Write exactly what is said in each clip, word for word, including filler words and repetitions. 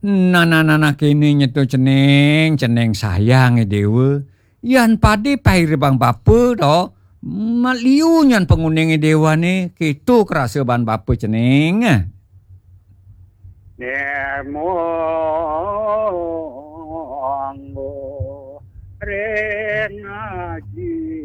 Nah, nah, nah, nah, kéné nyeto cening, cening sayang Déwa. Yan padé pairibang bapa to, maliu nyan panguning Déwané, kéto krasa ban bapa cening. Nemo anggo ring aji.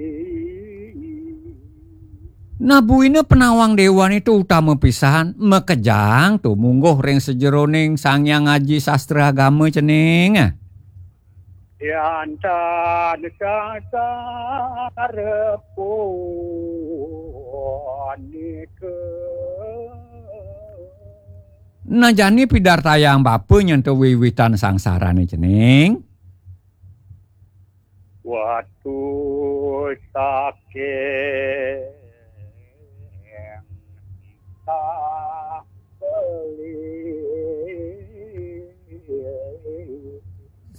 Nah, buina panawang Déwané to utama pisan, makejang to mungguh ring sajeroning Sang Hyang Aji Sastra Agama cening. Yan tan sasar punika. Nah, jani pidartayang bapa nyen to wiwitan sangsarané cening. Watu saking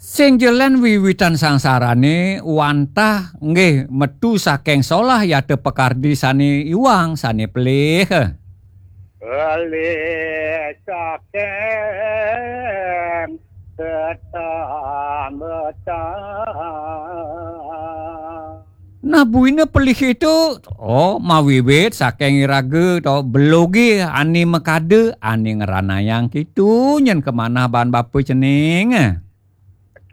Sing jelen wiwitan sangsarané wantah nggih metu saking solah yata pakardi sané iwang, sané pelih. Pelih saking tetambetan. Nah, buina pelih itu, oh, mawiwit saking iraga to beloge ané makada, ané ngranayang kitu nyen kamanah ban bapa cening.